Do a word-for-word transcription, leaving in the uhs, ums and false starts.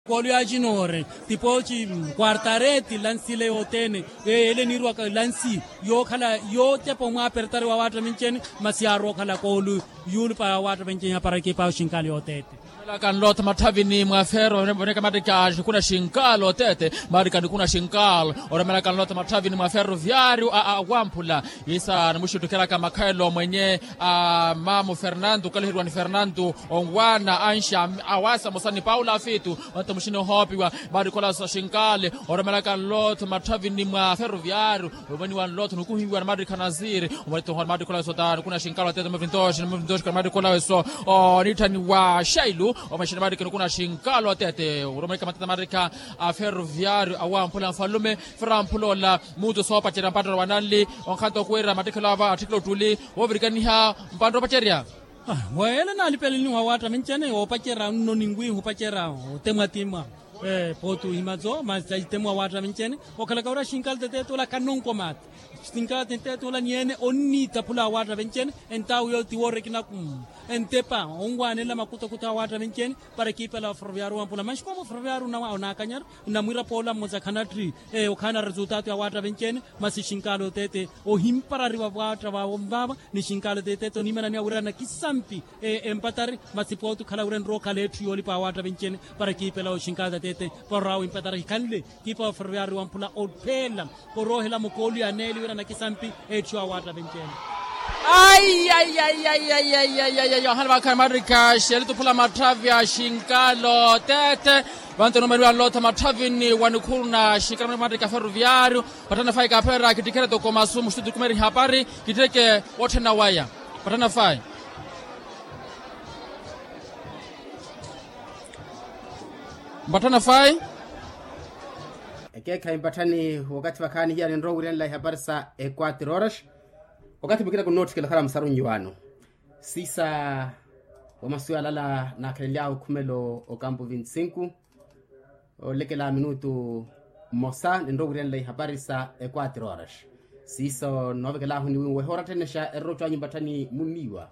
Koolu yaacinoore, tipooci kwartareti lansi ile yothene. Yeele niirwaka lansi yookhala yootepa omwaapertari wa waatta minceni. Masi yaarowa okhala koolu yuulupa ya waatta minceni yaapara ekipa ya oshinkaali yooteete. Oromela kanlotha matthavini mwa ferro voneka mattikha nikuna shinkaali oteete. Mattikha nikuna shinkaali oromela kanlotha matthavini mwa ferro viario a wamphula. Isa nimuxuttukheraka makhayelo mwenye a mamu fernandu okaliheriwa ni fernandu, onwana anxa awasa mosani paula afitu. Vanto muxini ohoopiwa mattikha olaso shinkaali. Oromela kanlotha matthavini mwa ferro viario. Ovaniwa nlotho nukuhiwa na mattikha nasiri. Omatitohona mattikha olaso ta nikuna shinkaali oteete mavintoxi mavintoxi ka mattikha olaso. Oniitthaniwa xailu. Omaxini mattikha nikuna shinkaali oteete oromeka matata mattikha a ferro viario awamphula nfalume. Ferro amphula ola muutu soopacerya mpatto wa nanli. Onkhanto okuwerya mattikhelo ava attikhelo ottuli. Woovirikaniha mpatto opacerya. Weele naalipeleniwa waatta mincene woopacerya nno ninwiiha opacerya otemwa timwa. Pooti ohimazo masi taitemo awaatta vencene. Okhalaka wira xinkalate teete ola khanonko maata. Xinkalate teete ola niyeene onniitaphula awaatta vencene. Entaawu yooti woorekina entepa onwaanela makutokuto awaatta vencene. Para ekiipela wa ferroviario wampula manxi koomo ferroviario onaakanyara. Onamwiira poola mmosa khanatthi okhaana resultato ya awaatta vencene. Masi xinkalo teete ohimparariwa vwaatta vaavo nvaava. Ni xinkalo teete oniimananiwa wira nakisampi empatari. Masi pooti okhala wira enrowa okhala etthu yoolipa awaatta vencene. Para ekiipela oxinkaza teete para oraawo impatara hikhanle. Ekiipa wa ferroviario wamphula opheela oroohela mukoolu ya neeli wira nakisampi. Etthu awaatta vencene. Ai ai ai ai ai ai ai ai ai ohana vakhala mattikha xeelituphula matthavi a xinkalo teete. Vanto numaniwa nlotha matthavini wa nikhuru na xinkalo mattikha ferroviario. Pattana fai kaaphererya kittikherya toko masu muxutu tukumeri hapari. Kittireke wotthena waya. Pattana fai. Mpatthana fai. Ekeekhayi mpatthani wakathi vakhaani hiya ninrowa owiryanela ihapari sa equatro horas. Wakathi mukina kunootthikela okhala musaru nnyuwaano. Siisa wa masu yaalala naakhalenly'awe okhumelo okampu vinti sinku. Olekela minutu mmosa ninrowa owiryanela ihapari sa equatro horas. Siiso noovekel'ahu niwinwe ehoora tthenexa erorotto anyu mpatthani munniiwa.